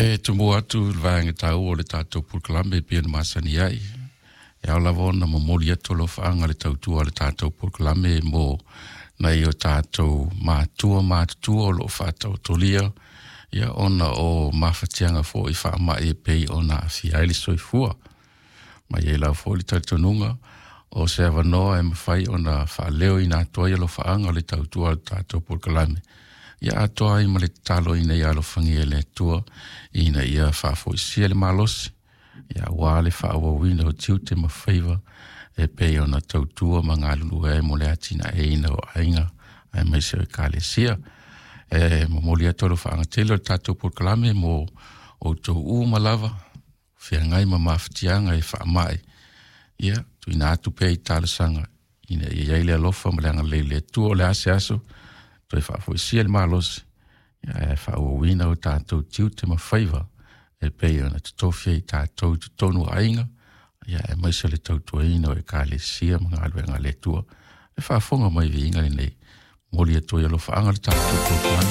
E tumua atu i le vaega taua o le tatou polokalame e pei ona masani ai. E ao lava ona momoli atu alofaaga i le tautua a le tatou polokalame mo nai o tatou matua matutua o lo o faataotolia ia ona o mafatiaga foi faamai e pei ona aafia ai le soifua. Ma e i ai lava foi le talitonuga o se avanoa e mafai ona faaleoina atu ai alofaaga o le tautua a le tatou polokalame, ia atoa ai ma le tatalo ina ia alofagia e le Atua ina ia faafoisia le malosi ia aua le faaauauina o tiute ma faiva e pei ona tautua ma galulue ai mo le atinaeina o aiga aemaise o ekalesia. E momoli atu alofaaga tele o le tatou polokalame mo outou uma lava feagai ma mafatiaga e faamai, ia tuuina atu pea i talosaga ina ia i ai le alofa ma le agalelei o le Atua. O le a se aso toe faafoisia le malosi ae faaauauina o tatou tiute ma faiva e pei ona totofi ai tatou i totonu o aiga, ia aemaise o le tautuaina o ekalesia ma galuega a le Atua. E faafofoga mai viiga lenei, momoli atu ai alofaaga o le tatou polokalame.